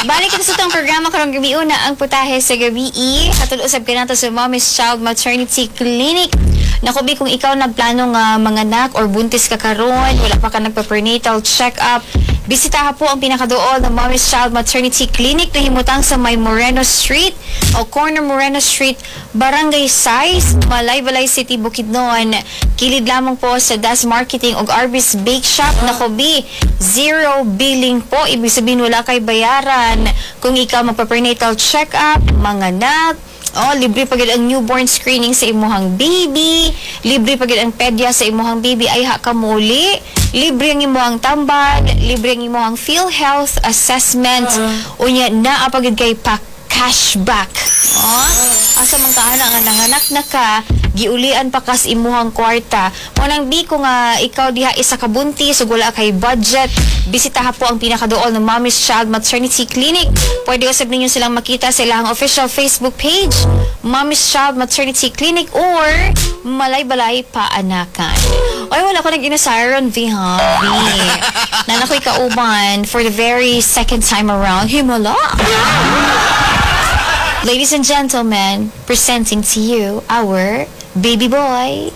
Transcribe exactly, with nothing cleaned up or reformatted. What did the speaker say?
Balik ito sa itong programa karong gabi una ang putahe sa gabi. Hatod usab kanato sa Mommy's Child Maternity Clinic. Naku, Bi, kung ikaw nagplano nga manganak or buntis ka karon, wala pa ka nagpa-prenatal check-up, bisitaha po ang pinakaduol ng Mommy's Child Maternity Clinic na himutang sa may Moreno Street o corner Moreno Street, Barangay Sais, Malaybalay City, Bukidnon. Kilid lamang po sa Das Marketing ug Arby's Bake Shop. Nako, Bi, zero billing po. Ibig sabihin wala kay bayaran. Kung ikaw magpa-prenatal check-up, manganak, oh, libre pa gid ang newborn screening sa imuhang baby, libre pa gid ang pedya sa imuhang baby ayha ka muli, libre ang imuhang tambal, libre ang imuhang PhilHealth assessment, unya naa pa gid kay pa cashback. Oh, asa man ka ana nga nanganak na ka, giulian pa kas imuhang kwarta. Mao nang bi ko nga ikaw diha isa ka buntis ug wala kay budget, bisitaha po ang pinakaduol ng Mommy's Child Maternity Clinic. Pwede usab ninyo silang makita sa ilang official Facebook page, Mommy's Child Maternity Clinic or Malaybalay Paanakan. Oy, wala ko nag-inasaron, V, ha? V. Naa na ko'y kauban for the very second time around. Himala! Ladies and gentlemen, presenting to you our baby boy.